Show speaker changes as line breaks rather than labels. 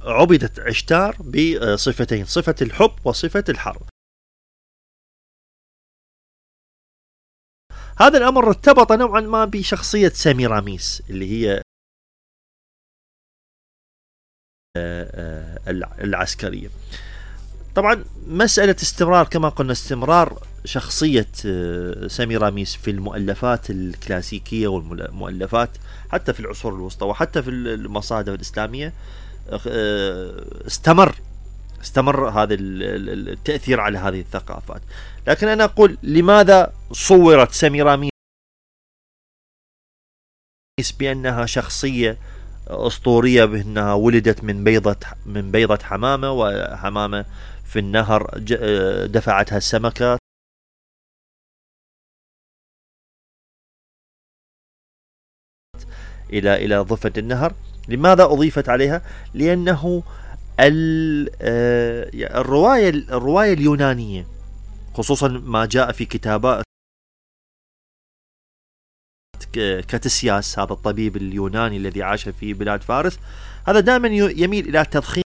عبدت عشتار بصفتين، صفة الحب وصفة الحرب. هذا الأمر ارتبط نوعا ما بشخصية سيميراميس اللي هي العسكرية. طبعا مسألة استمرار كما قلنا، استمرار شخصية سيميراميس في المؤلفات الكلاسيكية والمؤلفات حتى في العصور الوسطى وحتى في المصادر الإسلامية، استمر هذا التأثير على هذه الثقافات. لكن أنا أقول لماذا صورت سيميراميس بأنها شخصية أسطورية، بأنها ولدت من بيضة حمامة، وحمامة في النهر دفعتها السمكة إلى ضفة النهر. لماذا أضيفت عليها؟ لأنه الرواية اليونانية، خصوصا ما جاء في كتابات كاتسياس، هذا الطبيب اليوناني الذي عاش في بلاد فارس، هذا دائما يميل إلى تضخيم